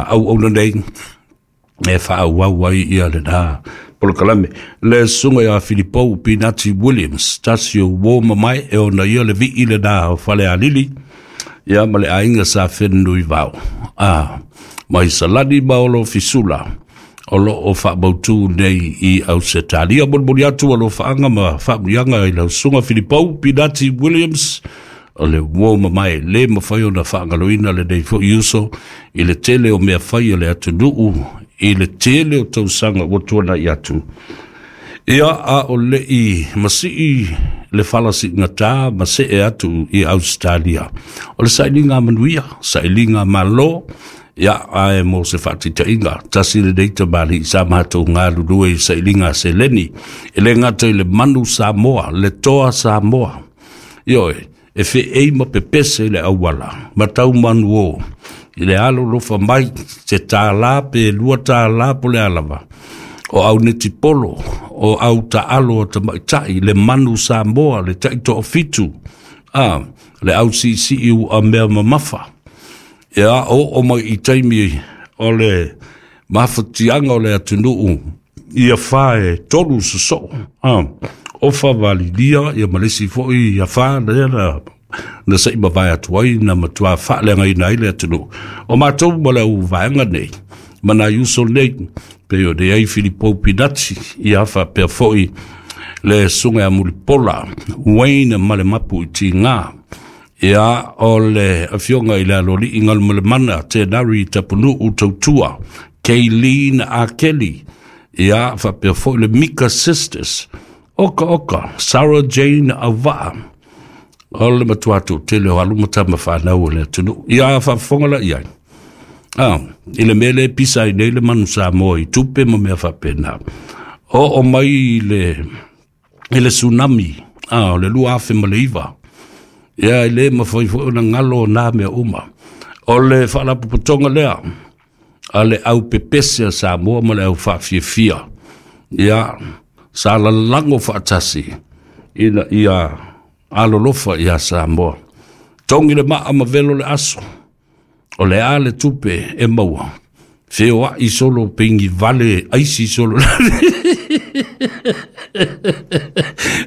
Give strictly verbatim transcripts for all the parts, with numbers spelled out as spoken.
auauna nei e faaauau ai ia lenā polokalame. Le susuga ia Filipou Pinati Williams, tasi o uō mamae e ona ia le vi'i lenā o Falealili ia ma le aiga sa Fenunuivao a mai Salani ma olo fisula o loo faamautū nei i Ausetalia. Molimoli atu alofaaga ma faamuiaga i lau susuga Filipou Pinati Williams, o le uō mamae lē mafai ona faagaloina lenei foʻi uso i le tele o mea fai o le atunuu i le tele o tausaga ua tuanaʻi atu. Ia a o leʻi masii le falasiigatā ma see atu i Ausetalia, o le sailiga manuia, sailiga mālō. Ia ae mo se faataitaiga, tasi lenei tamalii sa matou galulue i sailiga seleni, e lē gata i le manu Samoa, le toa Samoa, ioe, e feei ma pepese i le auala ma tau manu o i le alolofa mai se tālā pe lua tālā po le alava o au netipolo o au taalo o tamaʻitaʻi, le manu Samoa, le taʻitoafitu a le au siisii ua mea mamafa. Ia oo mai i taimi o le mafatiaga o le atunuu ia fa e tolu sosoo a ofa valilia ia ma lesi foʻi ia fa lea na na saʻi mavae atu ai na matuā faaleagaina ai le atunuu o matou ma le au vaega nei ma nai uso nei pei o nei ai Filipou Pinati ia faapea foʻi le susuga ia Mulipola Wayne ma le mapu i tigā. Ia o le afioga i le aloalii Galumalemana Tenari Tapunuu Tautua Kaylene Akeli, ia faapea foʻi le Mika Sisters, oka oka Sarah Jane Auvaa, o le matuā toʻatele o alu ma tama fanau o le atunuu. Ia faafofoga la i ai a i le mea lea e pisa ai nei le manu Samoa i tupe ma mea faapena. Oo mai i le i le tsunami a o le lua afe ma le iva, ia e lē mafai foʻi ona galo o nā mea uma. O le faalapopotoga lea a le au pepese a Samoa ma le au faafiafia, ia sa lalago faatasi ina ia alolofa iā Samoa, togi le maa ma velo le aso o le a le tupe e maua feoaʻi solo peigi vale aisi solo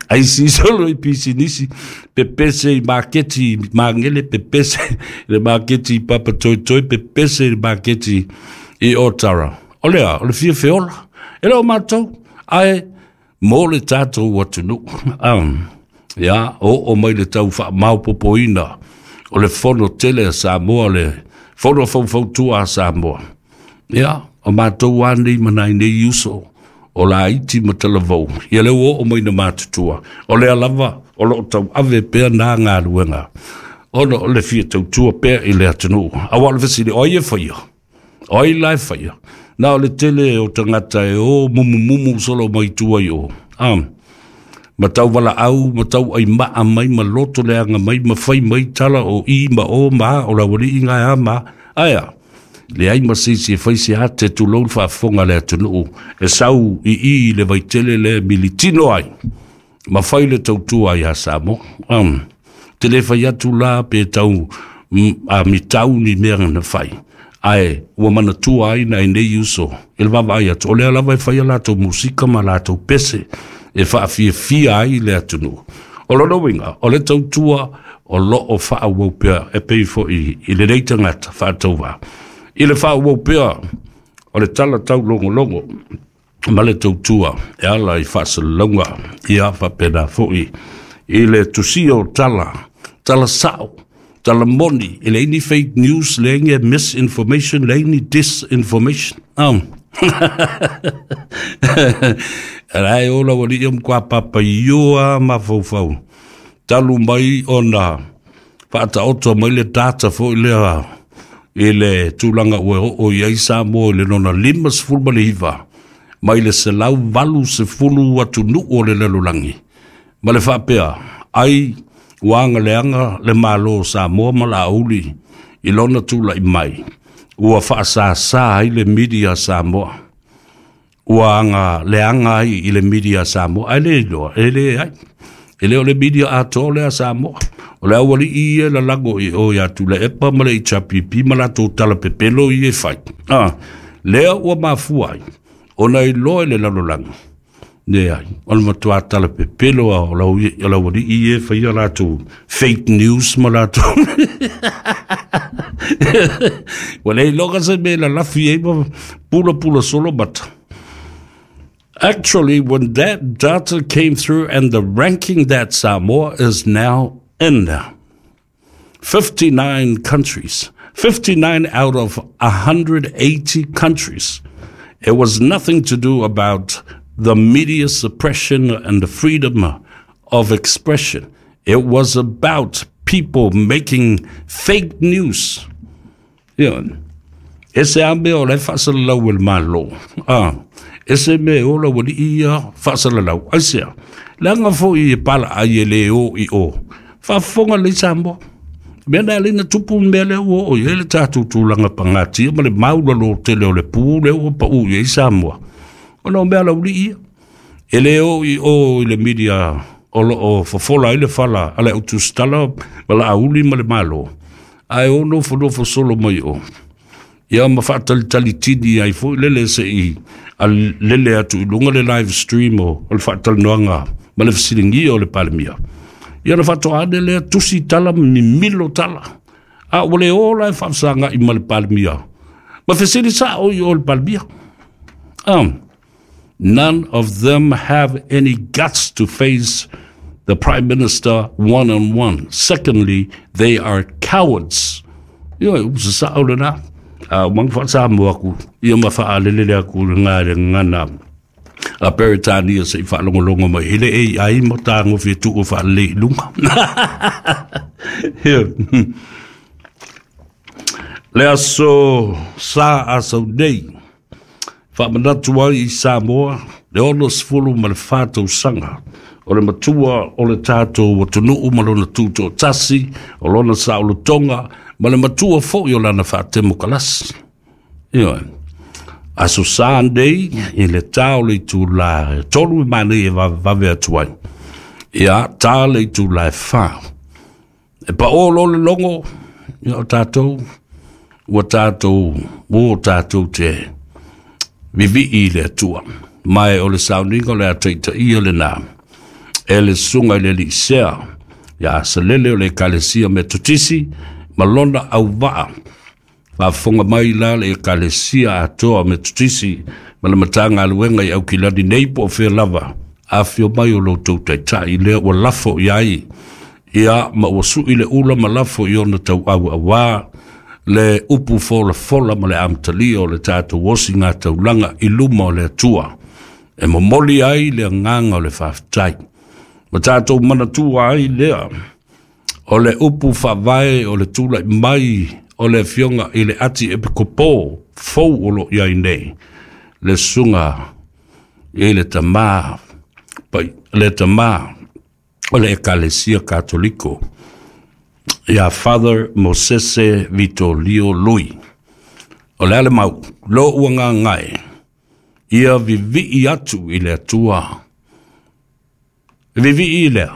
aisi solo i pisinisi, pepese i maketi magele, pepese i le maketi i Papatoetoe, pepese i le maketi i Otara. O lea o le fia feola e le o matou ae mo le tatou atunuu. um, ia oo mai le tau faamaopopoina o le fono tele a Samoa, le fono faufautua a Samoa. Ia o matou a nei ma nai nei uso o laiti ma talavou, ia le ua oo mai na matutua, o lea lava o loo tauave pea nā galuega ona o le fia tautua pea i le atunuu. Auā o le fesili, o ai e faia, o ai la e faia? Na o le tele o tagata e o mumumumu solo mai tua i o um, ma tau valaau ma tau aimaa mai ma loto leaga mai ma fai mai tala o i ma o ma o le aualii gae a ma aea leai ma se isi e fai se ate tulou le faafofoga a le atunuu e sau i i i le vaitele le militino ai ma fai le tautua iā Samoa. um, te lē fai atu la pe tau a mitau ni mea na fai, ae ua manatua ai nai nei uso i le vaavaai atu o lea lava e fai a latou musika ma latou pese e faafiafia ai le atunuu. O lona uiga o le tautua o loo faaauau pea e pei foʻi i lenei tagata faatauvā i le faaauau pea o le tala taulogologo ma le tautua e ala i faasalalauga, ia faapena foʻi i le tusia o tala, tala sao, tala moni, e leai ni fake news, leai ni misinformation, leai ni disinformation. um. Lae ola ua lii o matua papaioa mafaufau talu mai ona faataoto mai le data foʻi lea i le tulaga ua oo i ai Samoa i le lona lima sefulu ma le iva mai le selau valu sefulu atunuu o le lalolagi, ma le faapea ai ua agaleaga le Mālō o Samoa ma Laauli i lona tulaʻi mai ua faasāsā ai le media Samoa, ua aga leaga ai i le media Samoa, ae le iloa e le ai e le o le media atoa lea Samoa. O le auali'i ia e lalago i o iā Tuilaepa ma le H R P P ma latou talapepelo ia e fai. Ah, lea ua mafua ai ona iloa i le lalolagi, leai, o le matuā talapepelo a o le auali'i ia e faia latou fake news ma latou. Ua le iloga se mea e lalafi ai ma pulapula solo mata. Actually, when that data came through and the ranking that Samoa is now in, fifty-nine countries, fifty-nine out of one hundred eighty countries, it was nothing to do about the media suppression and the freedom of expression. It was about people making fake news. You know, e se a mea o le faasalalau e le Malo. Ah, e se mea o la wali ia faasalalau. Ai sea, leaga foi e pala ai e le o i o. Faafofoga lei Samoa. Mea na le na tupu mea lea ua oo i ai le tatou tulaga pagatia ma le maulalo tele o le pu lea ua pau i ai Samoa. Ona o mea laulii ia. E le o i o i le media o loo fofola ai le fala a le autusitala ma la auli ma le Malo. Ae o nofonofo solo mai o. Ia ma faatalitali tini ai foi lele se i a lele atu i luga le live stream o le faatalanoaga ma le fesiligia o le Palemia. Ia na faatoa ane lea tusi tala mimilo tala. A ua le o la e faafesaga'i ma le Palemia. Ma fesili sa'o i o le Palemia. Um, none of them have any guts to face the Prime Minister one-on-one. Secondly, they are cowards. Ia, usa sa'o lena. A mang faasamoa aku. Ia ma faalelele aku le ngā le ngana. A Peretania se i faalogologo mai i le A I ma tagofi e tuu faalelei i luga. Le aso sa asau nei, faamanatu ai i Samoa, le ono sefulu ma le fa tausaga, o le matua o le tatou atunuu ma lona tutoatasi, o lona saolotoga, ma le matua foi o lana faatemokalasi. Ioe. Aso sa nei, i le tā o le itula e tolu i manei e vavevave atu ai. Ia, tā le itula e whā. E pa o lo le logo, ia o tātou, ua tātou, ua tātou te vivii i le atua. Mai o le sauniga o le ataita ia le nā. E le sunga i le lisea, ia asalele o le ekalesia Metotisi, ma lona au vaa. Faafofoga mai la le ekalesia atoa Metotisi, ma le matagaluega i Aukilani nei po o fea lava. Afio mai o loutou taitai lea ua lafo i ai. Ia ma ua sui le ula ma lafo i ona tauauauā le upu folafola ma le amatalia o le tatou osi ngā taulaga i luma o le Atua. E momoli ai le agaga o le faafetai. Ma tatou manatua ai lea o le upu faavae o le tula'i mai o le afioga i le ati epikopo fou o loo i ai nei. Le susuga i le tamā, pai, le tamā o le ekalesia Katoliko, ia Father Mosese Vitolio Lui. O le ale mau, lo ua ngāngae, ia vivii atu i le Atua. E vivii i lea,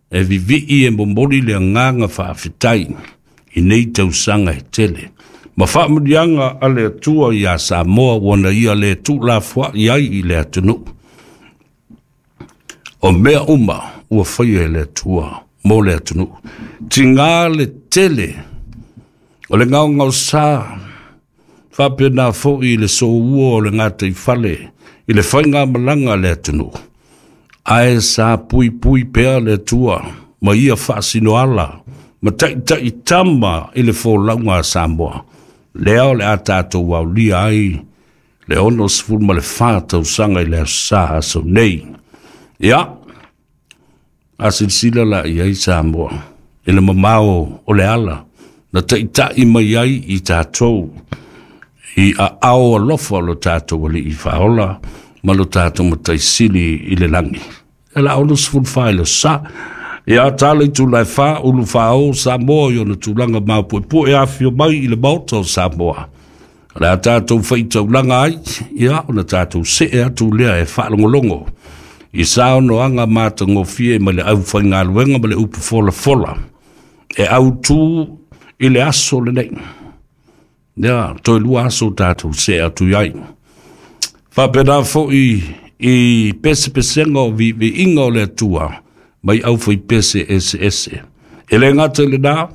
e vivii e momoli le agaga faafetai i nei tausaga e tele. Ma faamuliaga a le Atua iā Samoa ua na ia le tuulafoa'i ai i le atunuu. O mea uma ua faia e le Atua mo le atunuu. Tigā le tele o le gaogaosā faapena fo'i i le soua o le gataifale i le faigamalaga a le atunuu. Ae sa puipui pea le Atua ma ia faasinoala ma taʻitaʻi tama i le folauga a Samoa. Lea o le a tatou aulia ai le ono sefulu ma le fa tausaga i le aso sa aso nei. Ia, a silasila la i ai Samoa i le mamao o le ala na taʻitaʻi mai ai i tatou i aao alofa o lo tatou alii faaola ma lo tatou mataisili i le lagi. E la ono sefulu fa i le sa. Ia tā le itula e whā, ulu whāo Samoa i ona tulaga mapuepue afio mai i le maota o Samoa. O le a tātou whaitaulaga ai, ia ona tātou see atu lea e whaalongolongo. I saonoaga matagofie mai le aufaigaluega ma le upu folafola. E autū i le aso lenei. Ia, toe lua aso tatou see atu i ai. Faapena foi i pesepesega o viiviiga o le Atua mai aufaipese eseese. E le gata i lenā,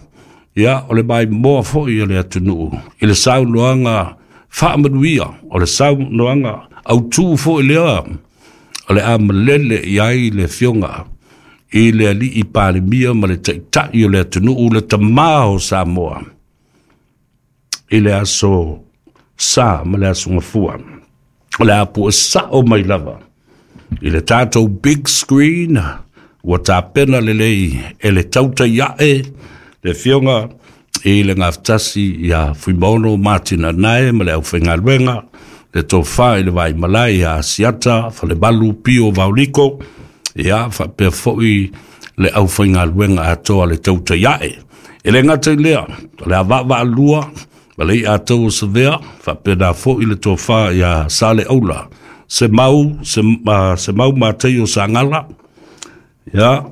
ia, o le maimoa foi o le atunuu i le saunoaga faamanuia, o le saunoaga autū foi lea o le a malele i ai le afioga i le alii Palemia ma le taitai o le atunuu, le tamā o Samoa, i le aso Sa ma le aso Gafua. O le a puesao mai lava i le tatou big screen ua tapena lelei e le tautai ae le afioga i le gafatasi ia Fuimaono Matina Nae ma le aufaigaluega, le tofa i le vaimalae ia Asiata Falemalu Pio Vauliko, ia faapea foi le aufaigaluega atoa le tautai ae. E le gata i lea, o le a vaavaalua ma le i'a tou o Savea, faapena foi le tofa ia Sale Aula, se mau, se, uh, se mau matei o Sagala, ia,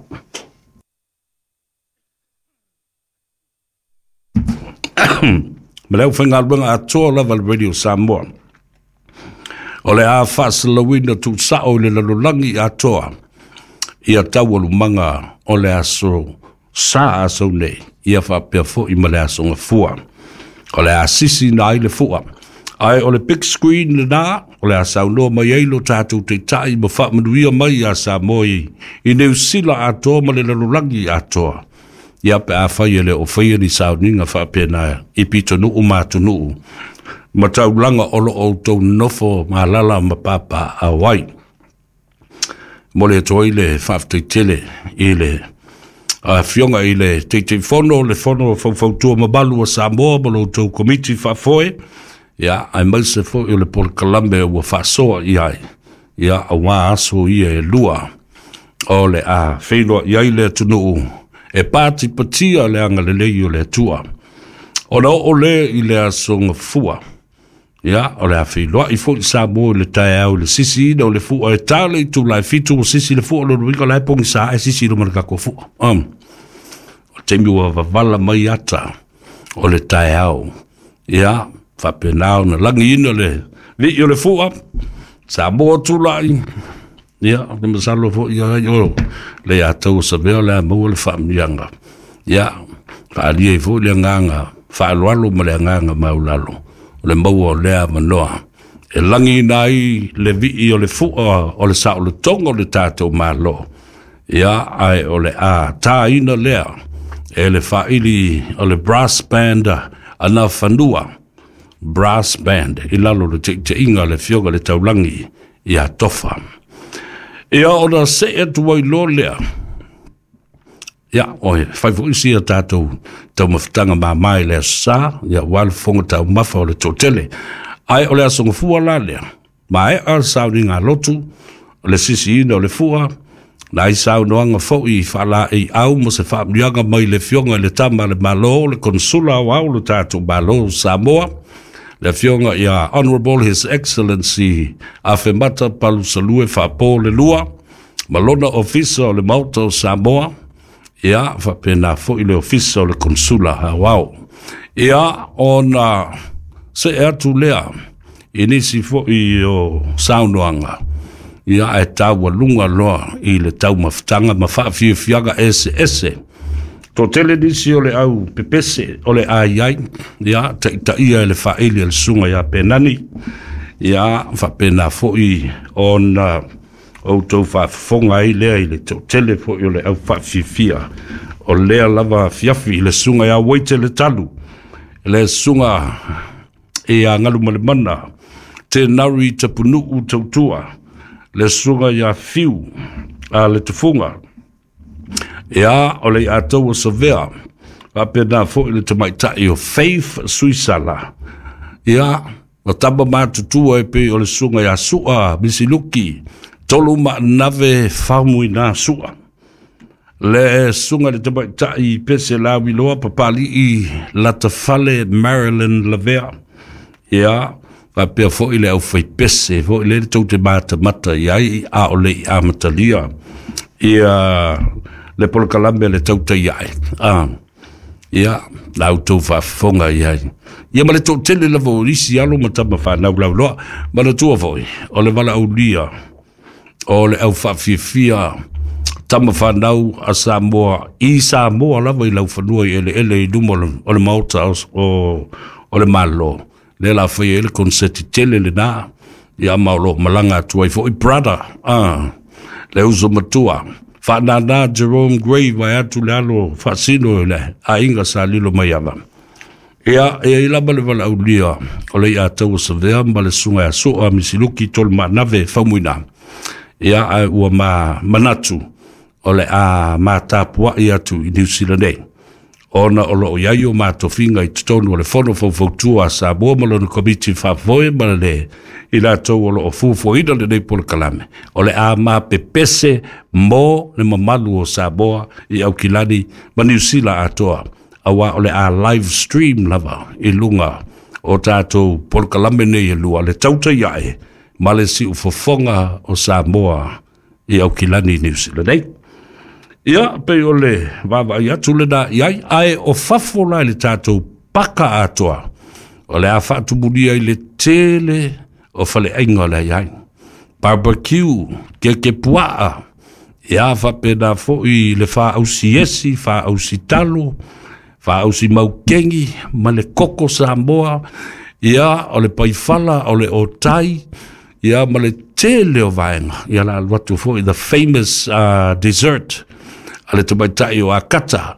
ma le aufaigaluega atoa lava le Radio Samoa. O le a faasalauina tuusao i le lalolagi atoa ia taualumaga o le aso Sa aso nei, ia faapea foi ma le aso Gafua. O le a sisi na ai le fua. Ae o le big screen lenā, o le a saunoa mai ai lo tatou taitai ma faamanuia mai ia Samoa i, i Niu Sila atoa ma le lalolagi atoa. Ia pe afai e le o faia ni sauniga faapena i pitonuu ma atunuu ma taulaga o lo o outou nofo malala ma papaaao ai. Mo le atu ai le faafetai tele i le afioga i le Taitaifono, le Fono Faufautua Mamalu a Samoa ma lo outou komiti faafoe, ia, aemaise foi o le polokalame ua faasoa i ai, ia, auā aso ia e lua o le a feiloai ai le atunuu e patipatia le agalelei o le Atua. Ona oo lea i le aso Gafua, ia, o le a feiloai foi Samoa i le taeao i le sisiina o le fua e ta le itula e fitu ua sisi le fua, lona uiga o la e pogisa e sisi i luma le tatou fua. Um, o le taimi ua vavala mai ata o le taeao. Ia, faapena ona lagiina le vii o le fua, Samoa tulai. Ia, o le masalo foi ia o le ia tau o Savea o le a maua le faamanuiaga. Ia, faaalia ai foi le agaga faaaloalo ma le agaga maulalo o le maua o lea avanoa e lagiina ai le vii o le fua o le saolotoga o le tatou Malo. Ia, ae o le a tāina lea e le faaili o le brass band ana fanua, brass band i lalo o le taitaiga a le afioga i le Taulagi ia Tofa. Ia, ona see atu ai loa lea. Ia, oi, fai foi sia tatou taumafataga mamā i le aso Sa, ia, aua le fofoga taumafa o le toatele. Ae o le aso Gafua la lea, maea le sauniga a lotu, o le sisiina o le fua, na ai saunoaga foi faalaeiau ma se faamanuiaga mai le afioga i le Tama a le Malo, le Konsula Aoao o le tatou Malo o Samoa, le afioga ia Honourable His Excellency Afemata Palusalue Faapo le Lua, ma lona Ofisa o le Maota o Samoa, ia, faapena foi le Ofisa o le Konsula Aoao. Ia, ona see atu lea i nisi foi o saunoaga, ia, ae taualuga loa i le taumafataga ma faafiafiaga eseese. Toatele nisi o le au pepese o le a i ai, ia, taitaia e le faaili a le susuga ia Penani, ia, faapena foi ona outou faafofoga ai lea i le toatele foi o le au faafiafia o lea lava afiafi i le susuga ia Waite le Talu, le susuga ia Galumalemana Tenari Tapunuu Tautua, le susuga ia Fiu a le Tufuga, ia, o le ia tau o Savea, faapena foi le tamaitai o Faith Suisala, ia, o tama matutua e pei o le susuga ia Sua Misiluki, Tolu Maanave Faumuina Sua, le susuga i le tamaitai Pese Lauiloa Papali'i Latafale Marilyn Lavea, ia, faapea foi le aufaipese foi lea tou te matamata i ai a o le i amatalia ia le polokalame le tautai ae. Ah, Ia, la outou faafofoga i ai. Ia ma le toatele lava o isi alo ma tama fanau lauloa. Manatua foi, o le valaaulia, o le au faafiafia tama fanau a Samoa, i Samoa lava i laufanua i eleele i luma o le maota o, o, o le Malo. Lea la faia ai le konseti tele lena, ia ma o loo malaga atu ai foi brother, ah, le uso matua. Faanana Jerome Gray vai atu le alo faasino i le aiga sa lilo mai ava. Ia, e ai lava le valaaulia o le ia tau savea ma le susuga ia Soa Misiluki Tolumaanave Faumuina. Ia, ae ua ma manatu o le a matapuai atu i Niu Sila nei, ona o loo i ai o matofiga i totonu o le Fono Faufautua a Samoa ma lona Komiti Faafoe ma le i latou o loo fuafuaina lenei polokalame. O le a mapepese mo le mamalu o Samoa i Aukilani ma Niu Sila atoa, auā o le a live stream lava i luga o tatou polokalame nei e lua, le Tautai Ae ma le Siufofoga o Samoa i Aukilani, Niu Sila nei. Ia, pei o le vaavaai atu lena i ai, ae o fafo la i le tatou paka atoa, o le a faatumulia i le tele o faleaiga o le ai ai. Barbecue, keke puaa, ia faapena foi le faausi esi, faausi talo, faausi maukeni, ma le koko Samoa, ia o le paifala, o le otai, ia ma le tele o vaega. Ia la alu atu foi the famous uh, dessert a le tamaitai o Akata,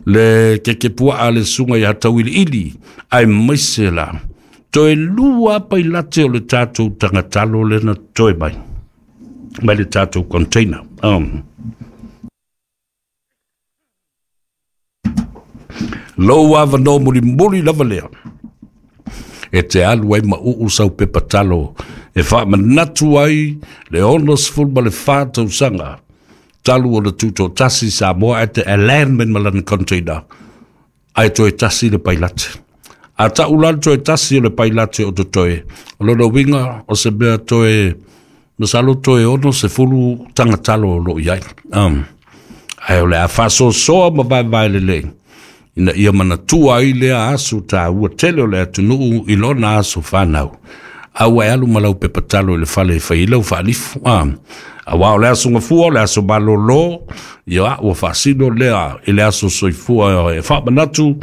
le keke puaa le susuga ia Tauiliili, ae maise la toe lua pailate o le tatou tagatalo lena toe mai mai le tatou container. Um. Lou avanoa mulimuli lava lea e te alu ai ma uu sau pepa talo e faamanatu ai le ono sefulu ma le fa tausaga talu o le tutoatasi Samoa, ae te alignment ma lana container, ae toe tasi le pailate. A tau la le toe tasi o le pailate o totoe, o lona uiga o se mea toe masalo toe ono sefulu tagatalo o loo i ai. Um. Ae o le a faasoasoa ma vaevae lelei ina ia manatua ai lea aso taua tele o le atunuu i lona aso fanau. A ua e alu ma lau pepa talo i le fale e fai lau faalifu. Ah. Auā o le aso gafua, o le aso malōlō, ia ua faasino lea i le aso soifua e faamanatu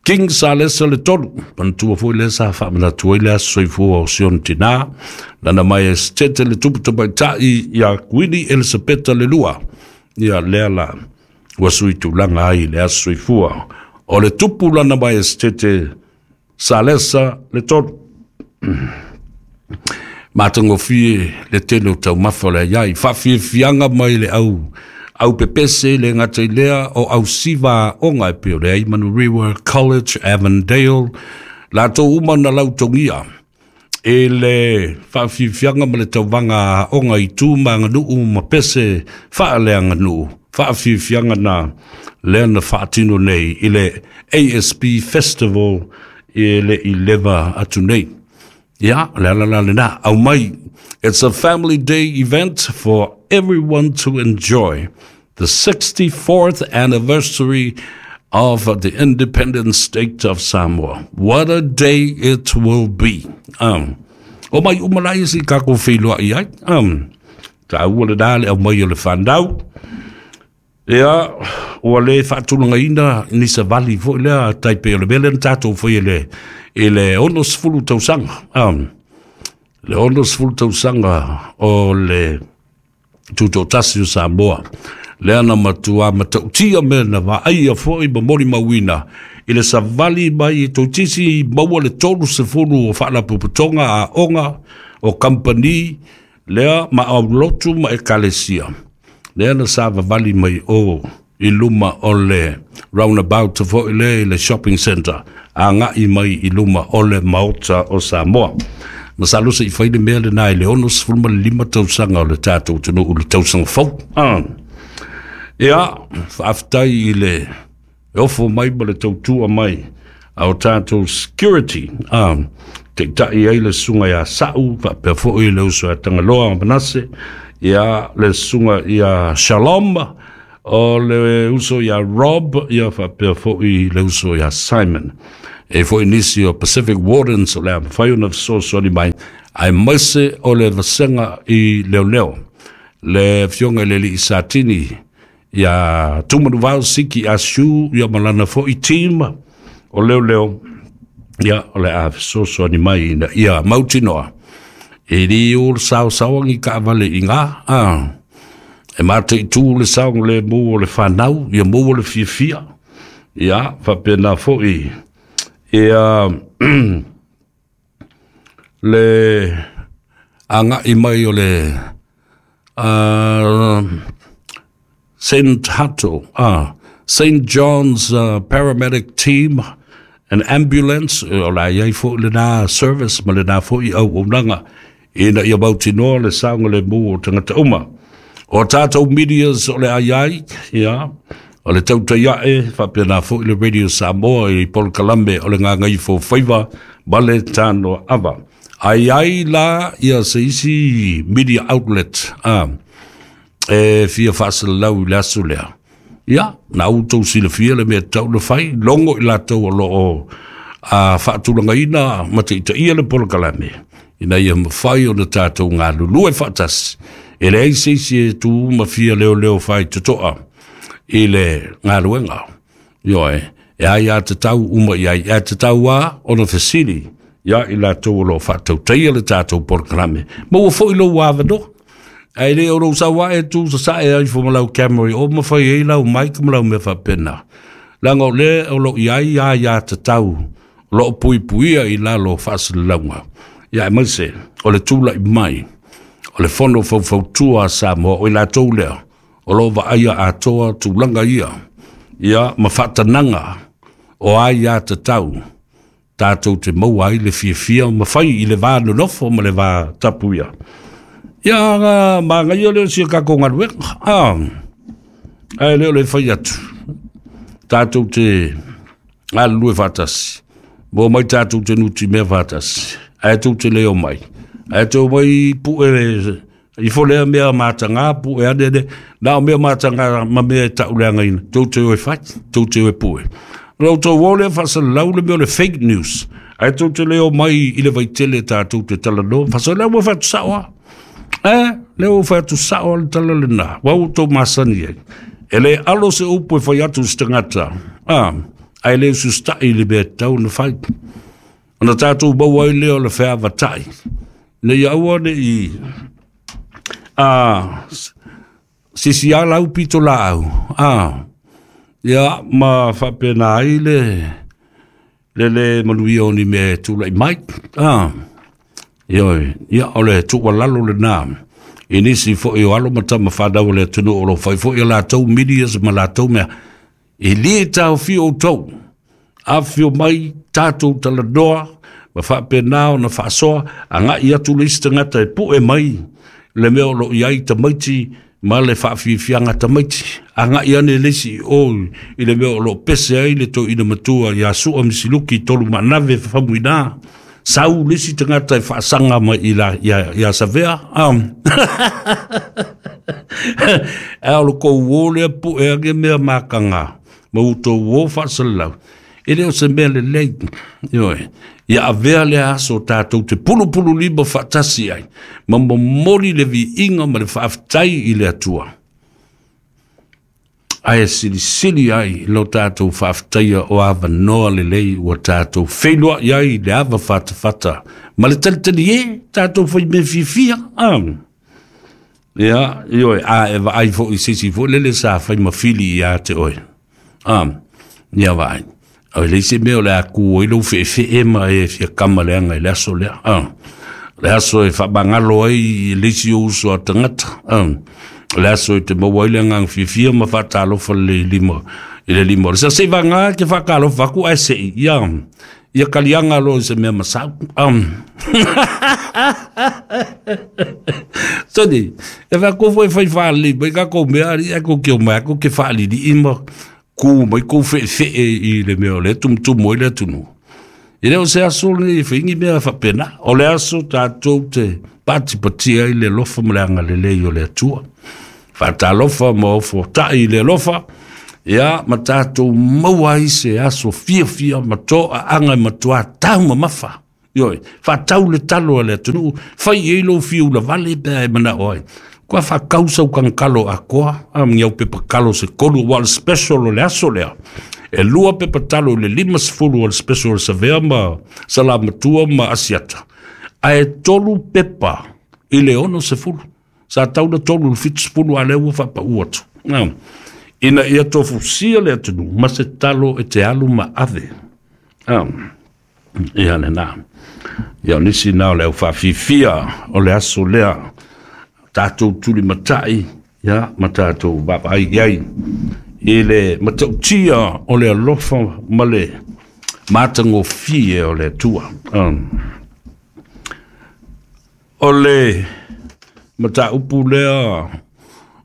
King Salesa le Tolu. Manatua foi lea sa faamanatu ai le aso soifua o Sion Tinā, lana mai e setete le tupu tamaitai ia Kuini Elisapeta le Lua. Ia lea la ua sui tulaga ai le aso soifua o le tupu lana mai e setete Salesa le Tolu. Matagofie le tele o taumafa o le aiai. Faafiafiaga mai le au au pepese le gata i lea o ausiva aoga e pei o le Manurewa College, Avondale, latou uma na lautogia e le faafiafiaga ma le tauvaga aoga i tu ma aganuu ma pese faaleaganuu. Faafiafiaga na lea na faatino nei i le A S B Festival i le i leva atu nei. Ia, le ala la lena. Au mai, it's a family day event for everyone to enjoy. The sixty-fourth anniversary of the independent state of Samoa. What a day it will be. Um, o mai uma lai si kako whiloa i ai. Um, ta ua le dale au mai o le whanau. Ia, ua le faatulagaina ni savali foi lea tai pe o le mea lea na tatou faia le i le ono sefulu tausaga. Um, le ono sefulu tausaga o le tutoatasi o Samoa. Lea na matua matautia mea na vaaia foi ma molimauina i le savali mai e toeitiiti maua le tolu sefulu o faalapotopotoga aoga o kampani lea ma aulotu ma ekalesia. Lea na savavali mai o i luma o le roundabout foi lea i le shopping center agai mai i luma o le Maota o Samoa. Masalo se i fai le mea lena i le ono sefulu ma le lima tausaga o le tatou atunuu le tausaga fou. Ah. Ia, faafetai i le ofo mai ma le tautua mai a o tatou security. Ah, taitai ai le susuga ia Sa'u, faapea foi le uso ia Tagaloa Manase, ia le susuga ia Shalom, O le uso ia Rob, ia faapea fo'i le uso ia Simon. E fo'i nisi o Pacific Wardens o le a mafai ona fesoasoani mai, aemaise o le vasega i leoleo. Le afioga i le alii Satini ia Tumanuvao Siki Asiu, ia ma lana fo'i team o leoleo, ia o le a fesoasoani mai ina ia mautinoa e lē o le saosaoagi taavale i gā a e mataitu le saogalemu o le fanau, ia maua le fiafia. Ia faapena fo'i ia le aga'i mai o le uh, Saint Hato, ah, Saint John's uh, Paramedic Team and Ambulance, o la iai fo'i lenā service ma lenā fo'i auaunaga ina ia mautinoa le saogalemu o tagata uma. O tatou medias o le ai ai, ia, o le Tautai A'e, faapena fo'i le Radio Samoa i polokalame o le Gagaifo Faiva ma le Tanoa Ava. Ai ai la ia se isi media outlet ah, e fia faasalalau i le aso lea. Ia, na outou silafia le mea tatau na fai, logo i latou o loo a faatulagaina ma taitaia le polokalame, ina ia mafai ona tatou galulue faatasi. E leai se isi e tu ma fia leoleo fai totoa i le galuega. Ioe, e ai a tatau uma i ai, e tatau a ona fesili ia i latou o loo faatautaia le tatou polokalame. Ma ua fo'i lou avanoa. Ae le o lou sau ae tu sasae ai fo ma lau camera o ma fai ai lau mic ma lau mea faapena. Leaga o le o loo i ai a ia tatau o loo puipuia i lalo o faasalalauga. Ia aemaise o le tula'i mai o le Fono Faufautua a Samoa, o i latou lea o loo vaaia atoa tulaga ia, ia ma faatanaga o ai ia tatau tatou te maua ai le fiafia ma fai i le va nonofo ma le va tapuia. Ia ga magaia lea o sia kakou galuega. Ah, ae le o le fai atu. Tatou te galulue faatasi. Mo mai tatou te nuti mea faatasi. Ae tou te le o mai. Ae tou mai pu'e ifo lea mea matagā pu'e ane ane. Na o mea matagā ma mea e ta'uleagaina. Tou te o e fai, tou te o e pu'e. Lau tou o lea faasalalau le mea o le fake news. Ae tou te le o mai i le vaitele tatou te talanoa. Faasalalau ua fai atu sa'o a. E, lea ua fai atu sa'o le tala lenā. Ua outou masani ai. E le alo se upu e fai atu se tagata. Ah, ae le ususta'i le mea tatau na fai. Ona tatou maua ai lea o le feavata'i. Ina ia aua ne'i a sisi a lau pito laau. Ah, ia ma faapena ai le le le manuia o ni mea e tula'i mai. Ah, ioe, ia o le tuualalo lenā i nisi fo'i o alo ma tama fanau o le atunuu o lo fai fo'i a latou medias ma latou mea. E lē taofia outou. Afifio mai tatou talanoa ma faapena ona faasoa aga'i atu le isi tagata e pu'e mai le mea o loo i ai tamaiti ma le faafiafiaga tamaiti. Aga'i ane le isi o i le mea o loo pese ai le toeaina matua ia Su'a Misiluki tolu maanave fafamuinā. Sau le isi tagata e faasaga mai i la ia, ia Savea. Um. Ae o le kou o lea pu'e age mea makaga ma outou o faasalalau. E le o se mea lelei. Ioe. Ia avea lea aso tatou te pulupulu lima faatasi ai ma momoli le viiga ma le faafetai i le Atua. Ae silisili ai lo tatou faafetaia o avanoa lelei ua tatou feiloa'i ai le ava fatafata ma le talitali e tatou faimea fiafia. Ah. Ia, ioe, a e vaai fo'i se isi fo'i lele sa fai ma fili iā te oe. Ah, ia vaai. O le isi mea o le a ku ai lou feefee ma e fia kama leaga i le aso lea. Ah. Le aso e faamagalo ai i le isi o uso a tagata. Ah. Le aso e te maua ai le agaga fiafia ma faatalofa le lima i le lima o le sa se'i vagā ke faatalofa aku ae se'i ia ia kaliaga loa i se mea masau. Um. Soni, e wha foi fai whaalei mai ka kou mea ari e kou kio mai ako ke whaalili ma ku mai kou whe whe i le mea o le tumutumu ai le atunu. E le o se aso le whaingi mea whapena. O le aso tātou te patipatia i le lofa ma le angalelei o le Atua. Faatalofa ma ofota'i i le alofa, ia ma tatou maua ai se aso fiafia ma to'aaga e matuā taumamafa. Ioe, faatau le talo a le atunuu, fai i ai lou fiu lavale pe a e mana'o ai. Kua faakau sau kagakalo akoa, a ma ni au pepa kalo se tolu, ua o le special o le aso lea. E lua pepa talo i le lima sefulu o le special o le Savea ma Salamatua ma Asiata, ae tolu pepa i le ono sefulu. Sa tau na tolu i le fitu sefulu, a lea ua faapa'u atu. Ina ia tofusia le atunuu ma se talo e te alu ma ave. Ia lena. Ia o nisi na o le au faafifia o le aso lea, tatou tulimata'i, ia ma tatou vaavaai i ai i le matautia o le alofa ma le matagofie o le Atua. O le mataupu lea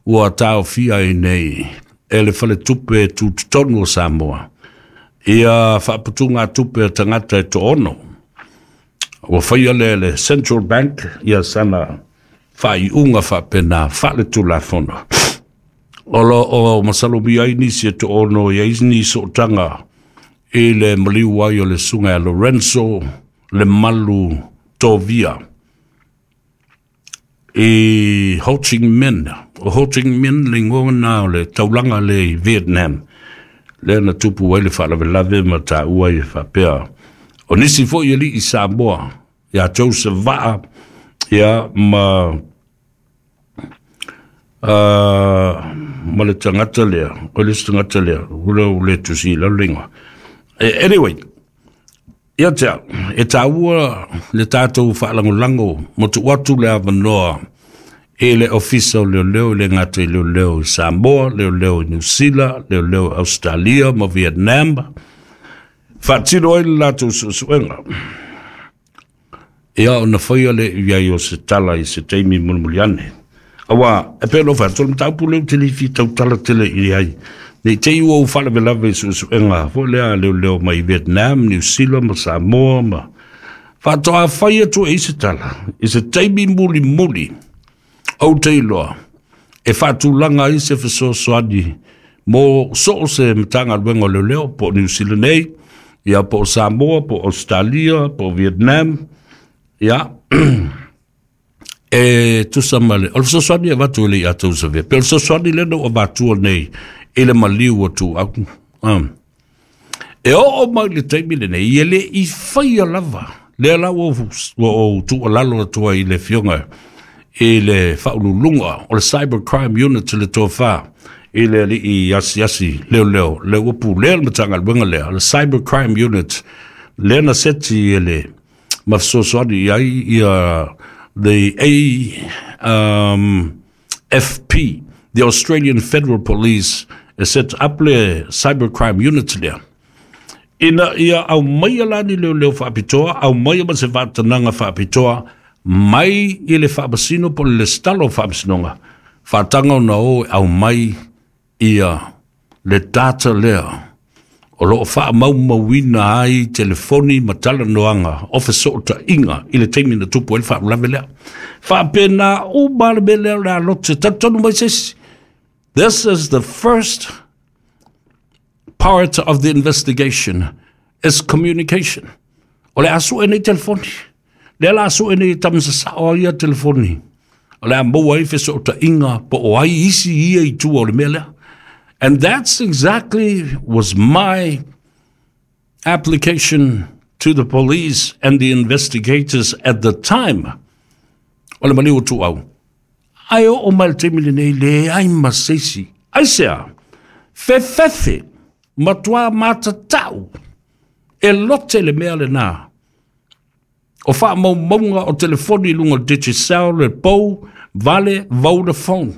ua taofia ai nei e le Faletupe Tutotonu o Samoa ia faaputugatupe a tagata e to'ono. Ua faia lea e le Central Bank ia sana faaiuga faapena faaletulafono. O loo masalomia ai nisi e to'ono i ai ni sootaga i le maliu ai o le susuga ia Lorenzo Le Malu Tovia i Ho Chi Minh. O Ho Chi Minh le igoa na o le taulaga lea i Vietnam, lea na tupu ai le faalavelave ma taua ai e faapea o nisi foi alii Samoa ia Joseph Vaa, ia ma uh, ma le tagata lea, o le isi tagata lea ua le tusi i lalo le igoa. Anyway, ia te au, e taua le tatou faalagolago ma tuu atu le avanoa i le Ofisa o Leoleo, i le gata i leoleo i Samoa, leoleo i Niu Sila, leoleo i Australia ma Vietnam, faatino ai le latou suesuega. Ia ona faia le i ai o se tala i se taimi mulimuli ane. Aua, e pei ona ou fai atu, o le mataupu lea ou te le fia tautala tele i ai, ne i te i ua ou faalavelave i suesuega foi lea a leoleo mai Vietnam, Niu Sila ma Samoa ma faatoa fai atu e i se tala i se taimi mulimuli, ou te iloa e faatulaga ai se fesoasoani mo so o se Matagaluega o Leoleo, po o Niu Sila nei, ia po o Samoa, po o Australia, po o Vietnam, ia e tusa ma le o le fesoasoani e avatu e le ia tou savea. Pe o le fesoasoani lea na ou avatua nei i le maliu o Tuau. Um. E oo mai le taimi lenei, e le i faia lava. Lea la ua ou tuualalo atu ai i le afioga i le faauluuluga o le Cybercrime Unit le tofa i le alii asiasi leoleo, lea ua pulea le Matagaluega lea, le Cybercrime Unit, lea na seti e le ma fesoasoani i ai ia the A um, F P, the Australian Federal Police, e set up le Cybercrime Unit lea. Ina ia aumaia la ni leoleo faapitoa, aumaia ma se faatanaga faapitoa mai i le faamasino po o le lesitala o faamasinoga, faataga ona o e aumai ia le data lea o loo faamaumauina ai telefoni ma talanoaga o fesootaiga i le taimi na tupu ai le faalavelave lea. Faapena uma le mea lea o le a lote talitonu mai se isi. This is the first part of the investigation is communication. O le a sue nei telefoni. Lea la sue nei tamasasao ai ia telefoni. O le a maua ai fesootaiga po o ai isi ia i tua o le mea lea. And that's exactly was my application to the police and the investigators at the time. O le maliu o Tuau. Ae oo mai le taimi lenei leai ma se isi. Aisea, fefefe, matuā matatau, e lote le mea lenā. O faamaumauga o telefoni i luga o le Digicel, le Pou, Vale, Vodafone.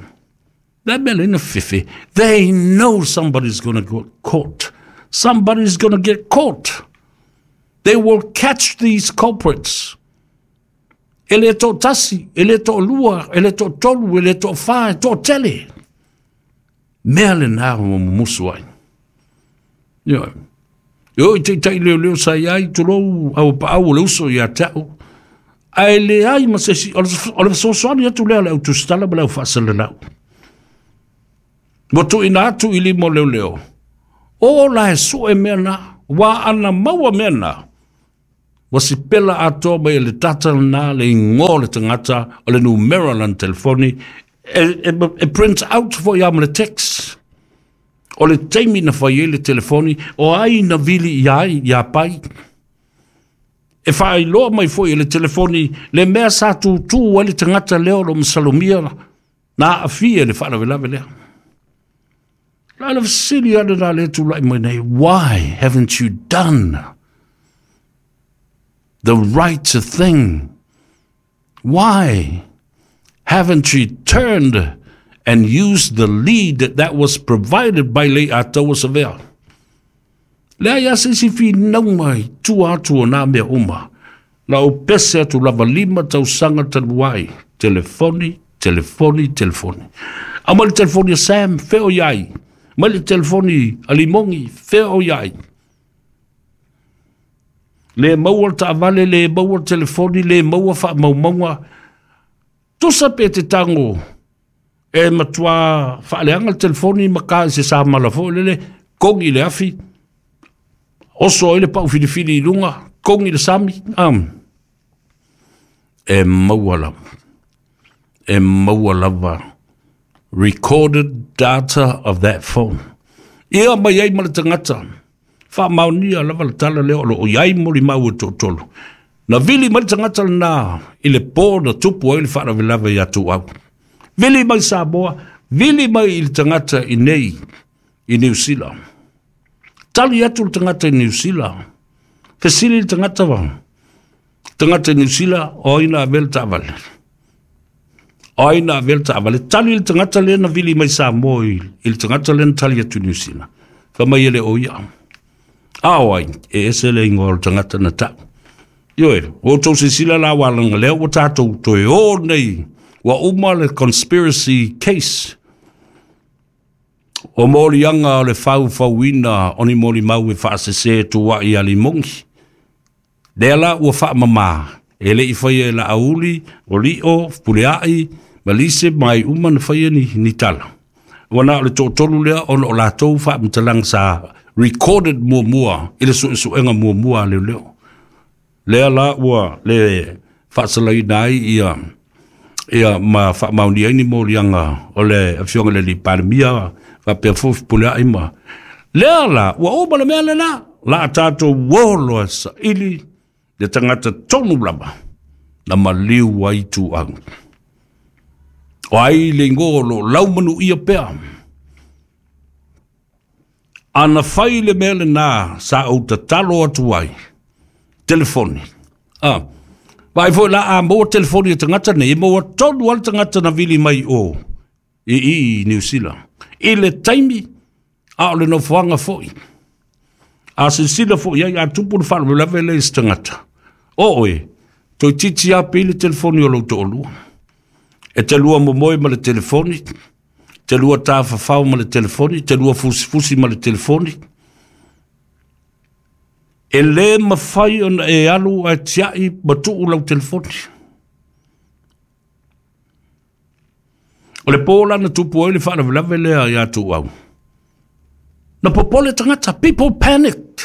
Le mea lena fefe. They know somebody's gonna get caught. Somebody's gonna get caught. They will catch these culprits. E le toatasi, e le toalua, e le toatolu, e le toafa, e toatele. Mea lenā ua mumusu ai. Ioe. E oo i taitai leoleo sa i ai, tulou au paau o le uso ia te au. Ae leai ma se isi, o le fesoasoani atu lea a le au tusitala ma le au faasalalau. Ua tuuina atu i lima o leoleo. O la e sue mea na, ua ana maua mea na. Ua sipela atoa mai e le data na le igoa o le tagata, o le numera o lana telefoni, e, e, e print out foi ia ma le text. O le taimi na fai ai le telefoni, o ai na vili ia ai, ia pai. E faailoa mai foi e le telefoni le mea sa tutū ai le tagata lea o lo masalomia na aafia i le faalavelave lea. La le fesili ale la le tulai mai nei, why haven't you done the right thing? Why haven't you turned and used the lead that was provided by Leiataua Savea? Lea ia se isi finauga i tua atu o nā mea uma. La o pese atu lava lima tausaga talu ai. Telefoni, telefoni, telefoni. A mai le telefoni a Sam, fea o i ai. Mai le telefoni a Limogi, fea o i ai. Le maua le taavale, le maua le telefoni, le maua faamaumauga. Tusa pe te tago e matua faaleaga le telefoni ma ka i se samala foi lele, kogi i le afi, oso ai le pau filifili i luga, kogi i le sami. Um, e maua lava. E maua lava recorded data of that phone. Ia mai ai ma le tagata. Faamaonia lava le tala lea o lo o i ai molimau e toatolu. Na vili mai le tagata lena i le po na tupu ai le faalavelave ia Tuau. Vili mai Samoa, vili mai i le tagata i nei i Niu Sila. Tali atu le tagata i Niu Sila. Fesili le tagata va. Tagata i Niu Sila, o ai na avea le taavale. O ai na avea le taavale. Tali le tagata lea na vili mai Samoa i, i le tagata lea na tali atu i Niu Sila. Fai mai e le o ia. A o ai, e ese le igoa o le tagata na tau. Ioe, o outou silasila la ua laga lea ua tatou toe o nei. Ua uma le conspiracy case. O moliaga o le faufauina o ni molimau e faasese tuuai ia Limogi. Lea la ua faamamā, e le i faia e Laauli, o Lio, Puleai, ma Lise ma ai uma na faia ni, ni tala. Ua na o le toatolu lea ona o latou faamatalaga sa recorded muamua i le suesuega muamua a leoleo. Lea la ua le faasalaina ai ia ia ma faamaonia ai ni moliaga o le afioga i le alii Palemia faapea foi Fepuleai ma lea la ua uma le mea lena la a tatou uo loa saili le tagata tonu lava na maliu ai Tuau. O ai le igoa o lo o laumanuia pea. Ana fai le mea lena sa ou tatalo atu ai, telefoni. Ah, vaai foi la a maua telefoni a tagata nei, e maua tonu lava le tagata na vili mai o i i i Niu Sila. I le taimi, a o le nofoaga foi. A silasila foi i ai, a tupu le faalavelave lea i se tagata. O oe, toeitiiti lava pei le telefoni o lou toalua. E te lua momoe ma le telefoni, te lua tafafao ma le telefoni, te lua fusifusi ma le telefoni. E le mafai ona e alu ae tiai ma tuu lau telefoni. O le po la na tupu ai le faalavelave lea ia Tuau. Na popole tagata, people panicked.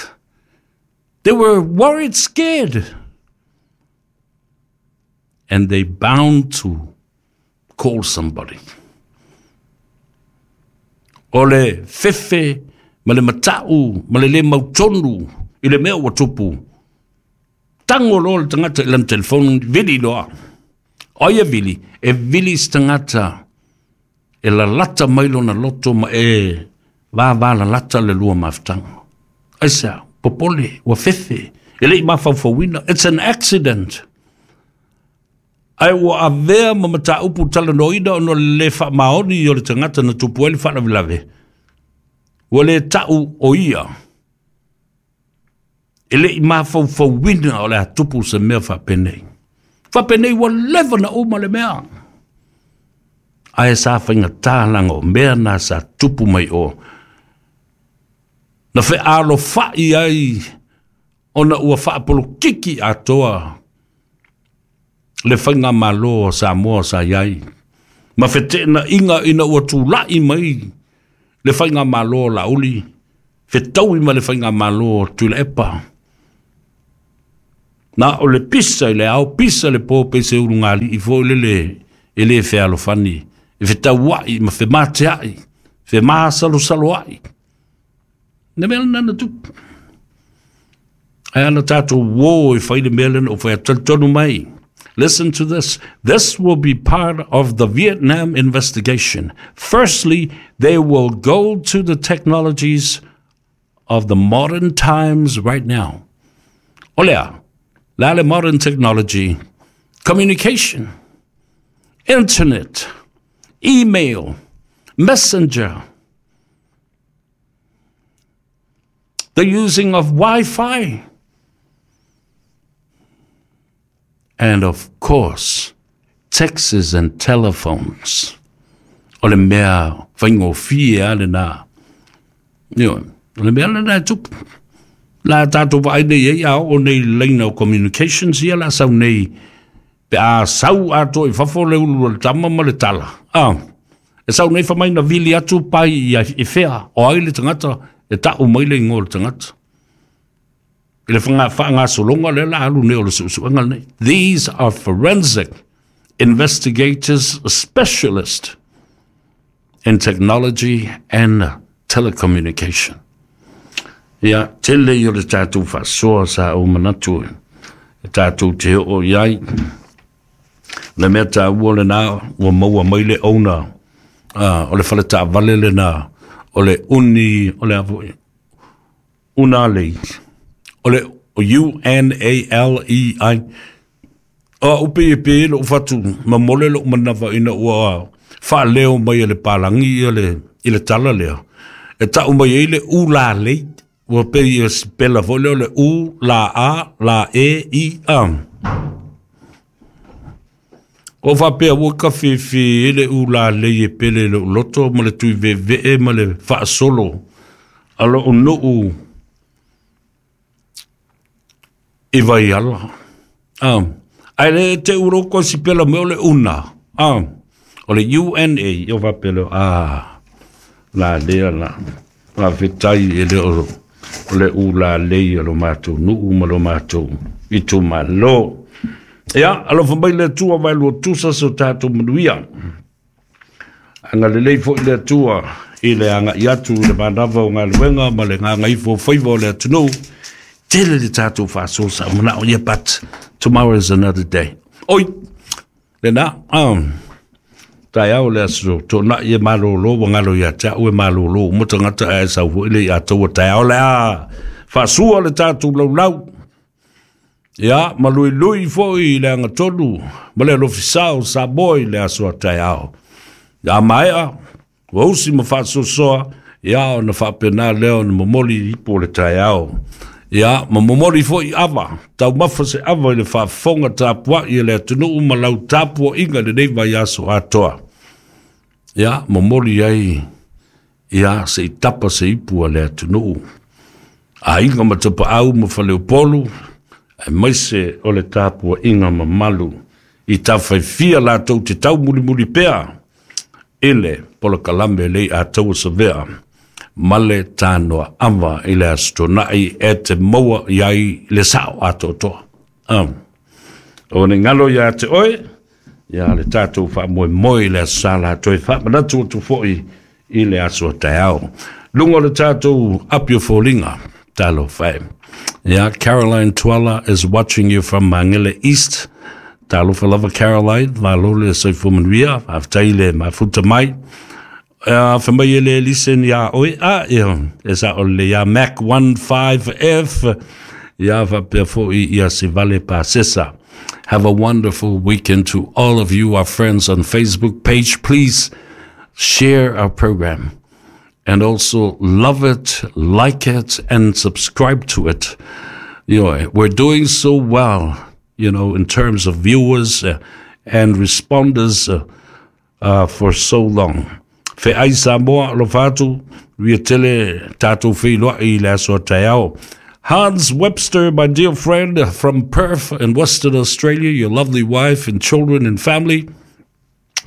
They were worried, scared. And they bound to call somebody. O le fefe ma le matau ma le le mautonu i le mea ua tupu. Tango loa le tagata i lana telefoni, vili loa. O ai e vili? E vili se tagata e lalata mai lona loto ma e vavalalata le lua mafutaga. Aisea? Popole, ua fefe, e le i mafaufauina. It's an accident. Ae ua avea ma mataupu talanoaina ona o le le faamaoni o le tagata na tupu ai le faalavelave. Ua le tau o ia. E le i mafaufauina o le a tupu se mea faapenei. Faapenei ua leva na uma le mea. Ae sa faigata laga o mea na sa tupu mai o. Na fealofai ai ona ua faapolokiki atoa le faigamalo o Samoa sa i ai. Ma feteenaiga ina ua tulai mai Le faiga malo o Laauli, fetaui ma le faiga malo o Tuilaepa. Na o le pisa i le ao, pisa le po pe se ulugalii foi lele e le fealofani, e fetauai ma femateai, femasalosaloai. Le mea lena na tupu. Ae ana tatou uō e fai le mea lena ua fai atu. Talitonu mai. Listen to this. This will be part of the Vietnam investigation. Firstly, they will go to the technologies of the modern times right now. O le a? Le a le modern technology? Communication, internet, email, messenger, the using of Wi-Fi, and of course, texts and telephones. O le mea faigofie lava lena. Ioe, o le mea lena e tupu. La tatou vaai nei ai a oo nei i le laina o communications ia la sau nei pe a sau atoa i fafo le ulu o le tama ma le tala. Ah, e sau nei fai mai na vili atu pai i fea o ai le tagata e ta'u mai le igoa o le tagata. I le faagasologa lea la alu nei o le suesuega lenei. These are forensic investigators specialist in technology and telecommunication. Ia, tele ia o le tatou faasoa sa ou manatu e tatou te oo i ai. Le mea taua lena ua maua mai le owner o le fale taavale lena o le uni o le a foi Unalei o le U N A L E I. O au pei e pe lou fatu mamole lou manava ina ua faaleo mai e le palagi ia le, i le tala lea. E tau mai ai le Ulalei, ua pei e sipela foi lea o le U, la A, la E, I, A. O faapea ua kafefe e le Ulalei e pele i lou loto ma le tui veevee ma le faasolo a lou nuu i Vaiala. Ah, ae le te uroko e sipela mai o le una. Ah, o le U N A, o faapea lea, ah, la lea la, faafetai e le o, o le Ulalei o lo matou nuu ma lo matou itumalo. Ia, alofa mai le Atua vaelua tusa se o tatou manuia. Agalelei foi le Atua i le agai atu i le manava o galuega ma le gagaifo o faiva o le atunuu. Tele le tatou faasoa sa ou manao ia, but tomorrow is another day. Oi, lena, um, taeao le aso toonai e malolo ua galo ia te au e malolo uma tagata ae sau foi le ia taua taeao le a faasua le tatou laulau. Ia, ma luilui foi i le agatonu ma le alofisa o Samoa i le aso a taeao. Ia maea, ua usi ma faasoasoa, ia ona faapena lea ona momoli ipu o le taeao. Ia, ma momoli foi ava, taumafa se ava i le faafofoga tapuai e le atunuu ma lau tapuaiga i lenei vaiaso atoa. Ia, momoli ai, ia, se i tapa se ipu a le atunuu. Aiga ma tapaau ma faleupolu, aemaise o le tapuaiga mamalu i tafaifia latou te taumulimuli pea i le polokalame lei a taua savea ma le tanoa ava i le aso tonai e te maua i ai le sao atoatoa. Um, o ne ngalo ia te oe, ia le tatou faamoemoe i le aso sa latou e faamanatu atu foi i le aso a taeao. Luga o le tatou api o foliga, talofa e. Yeah, Caroline Tuala is watching you from Mangele East. Talofa lava Caroline, malo le soifua manuia, faafetai le mafuta mai. Uh, fa mai e le listen ia oe, a, ia, e sa o le ia Mac one five F, ia faapea foi ia Sivale Pasesa. Have a wonderful weekend to all of you, our friends on Facebook page. Please share our program. And also love it, like it, and subscribe to it. You know, we're doing so well, you know, in terms of viewers uh, and responders uh, uh, for so long. Feai Samoa, alofa atu, ua tele tatou feiloai i le aso a taeao. Hans Webster, my dear friend from Perth in Western Australia, your lovely wife and children and family,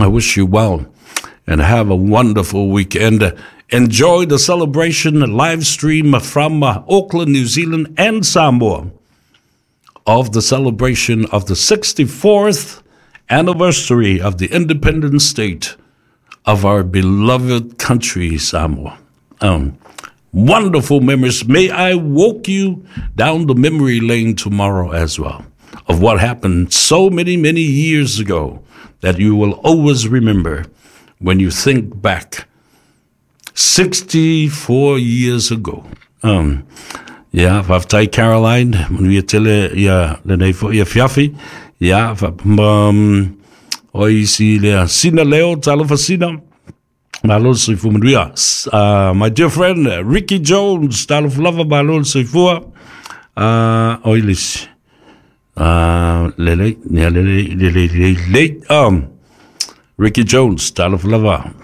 I wish you well and have a wonderful weekend. Enjoy the celebration live stream from Auckland, New Zealand and Samoa of the celebration of the sixty-fourth anniversary of the independent state of our beloved country, Samoa. Um, wonderful memories. May I walk you down the memory lane tomorrow as well of what happened so many, many years ago that you will always remember when you think back sixty-four years ago. Um, yeah, faafetai Caroline, manuia tele ia lenei fo'i afiafi. Ia, um, o isi lea Sina Leo, talofa Sina. Malo le soifua manuia. Uh, my dear friend Ricky Jones, talofa lava, malo le soifua. Uh, o ilisi. Uh, lelei, lelei, lelei, lelei, lelei. Um, Ricky Jones, talofa lava.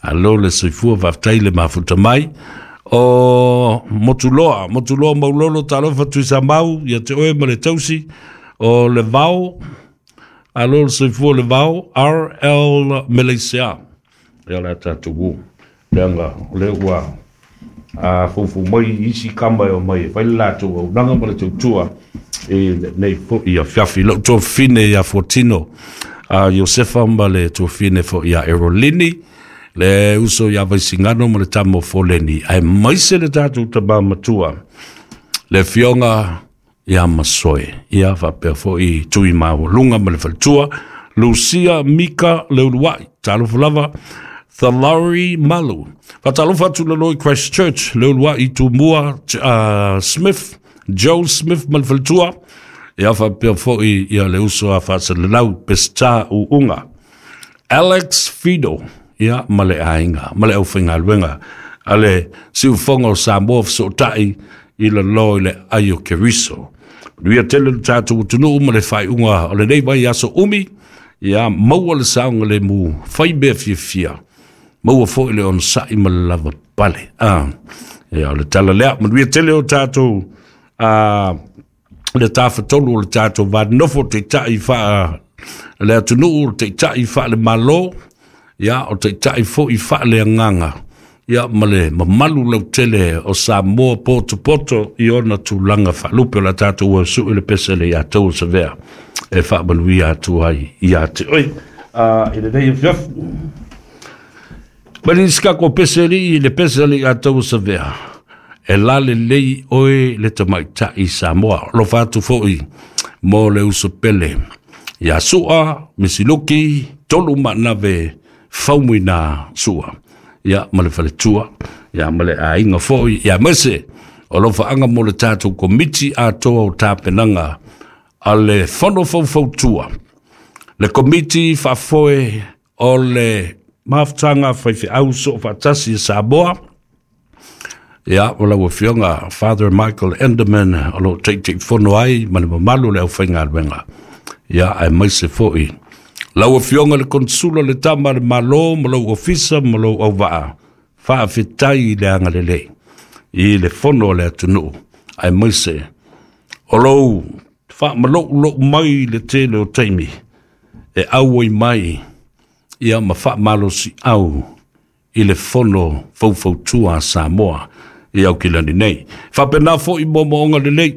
Alo le soifua, faafetai le mafuta mai. O Motuloa, Motuloa Maulolo, talofa Tuisamau, ia te oe ma le tausi. O le Vao, alo le soifua le Vao, R L Malaysia. Ia la tātou wu. Leanga, o le ua a fufu mai isi kama e o mai. Whai le lātou au nanga ma le tautua e nei fo'i a fiafi. Lau tuafine ia Fortino a Josefa ma le tuafine fo'i a Erolini. Le uso ia Vaisingano ma le tama o Foleni. Ae maise le tātou tama matua. Le fionga ia Masoe. Ia whapea fo'i tui mawalunga ma le faletua. Lucia Mika Leuluai. Talofa lava. Thalari Malu. Fatalofa atu lalo i Christchurch. Leuluai Tumua uh, Smith. Joe Smith ma le faletua. Ia whapea fo'i ia le uso a whaasalelau Pesta Uunga. Alex Fido. Ia ma le ainga, ma le auwhaingaluenga. Ale siufonga o Samoa whasotai i la lo i le aio Keriso. Nuia tele le tātou utunuu ma le whaiunga o le nei vai aso umi. Ia maua le saunga le mu whai mea fiafia. Maua foi le onsa'i ma le lava pale. Ah, ia o le tala lea. Manuia tele o tātou ah, le tāwhatolu o le tātou vānofo te tai whaa le atunuu te tai whaa le malo. Ia o te tai foi whaa le anganga. Ia ma le mamalu lau tele o Samoa poto poto i ona tūlanga whaalupe o la tātou ua sui le pese le ia tau sa vea. E whaamanuia atu ai ia te oi. Uh, i le nei afiafi. Mani skako pese li le pese le ia tau sa vea. E lale lei oe le tamaitai Samoa. Lo whaatu foi mo le uso pele. Ia sua, misiluki, tolu manave faumuina sua. Ia ma le faletua, ia ma le ainga foi, ia mese. O lo whaanga mo le tātou komiti a toa o tāpenanga a le fono faufautua. Le komiti whaafoe o le mafutanga whaiwhiau so whaatasi Samoa. Ia, o lau afioga Father Michael Enderman o lo teitei fono ai ma le mamalu le au whaingaluenga. Ia, ai maise foi. Lau afioga le konsula le tama le malo ma lau ofisa ma lau auvaa. Faafetai i le agalelei i le fono o le atunuu. Ai maise o lou faamalou mai le tele o taimi e auai mai ia ma faamalosi au i le fono faufautua a Samoa i Aukilani nei. Faapena fo'i moomooga lelei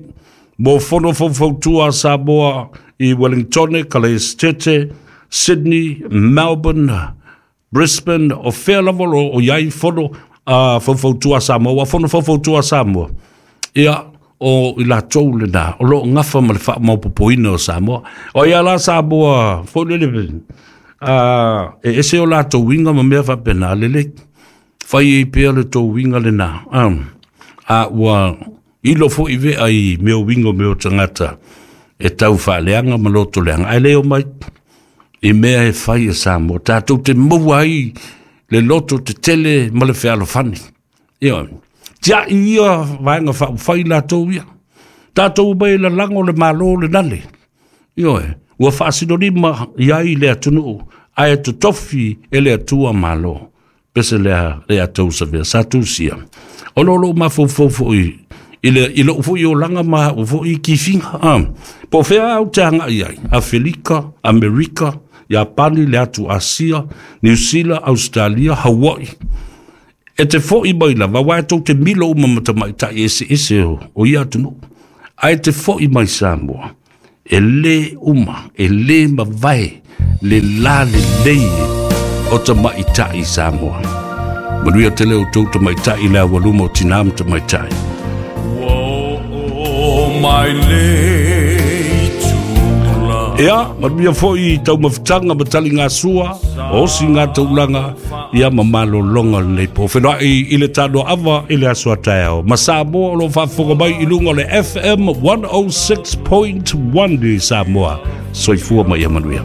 mo fono faufautua a Samoa i Wellington, Kalaestete, Sydney, Melbourne, Brisbane, o fea lava o iai fono uh, faufautua a Samoa, fono faufautua a Samoa. Ia o i latou lena, o loo gafa ma le faamaopopoina o Samoa. O ia la Samoa, foi lele, uh, e ese o latou uiga ma mea faapena lelei. Fai ei pea le tou uiga lena. Um, a ua ilo fo'i vea i mea uiga o mea o tagata e tau faaleaga ma loto leaga. Ae le o mai i mea e fai e Samoa. Tātou te maua ai le loto te tele ma le fealofani. Ia, tia ia vaenga faufai latou ia. Tātou mai lalago le malo le nale. Ia, ua faasinolima iai le atunuu, ae totofi e le atua malo. Pese lea le atou sa vea, sa tusia. O lo lo mafaufau foi i le i lou foi olaga ma au foi kifiga. Ah, po fea au te agai ai, Afelika, Amerika, Iapani, le atu Asia, New Zealand, Australia, Hawaii. E te fo'i mai lava, uae tou te milo uma ma tamaita'i eseese o, o ia atunuu. Ae te fo'i mai Samoa, e lē uma, e lē mavae le lalelei o tamaita'i Samoa. Manuia tele outou tamaita'i le aualuma o tinā ma tamaitai. Ua oo mai le itula. Ia, manuia foi taumafataga ma taligasua, osi gataulaga, ia ma malologa lenei po. Feiloai i le tanoaava i le aso a taeao. Ma Samoa o lo o faafofoga mai i luga o le F M one oh six point one i Samoa. Soifua ma ia manuia.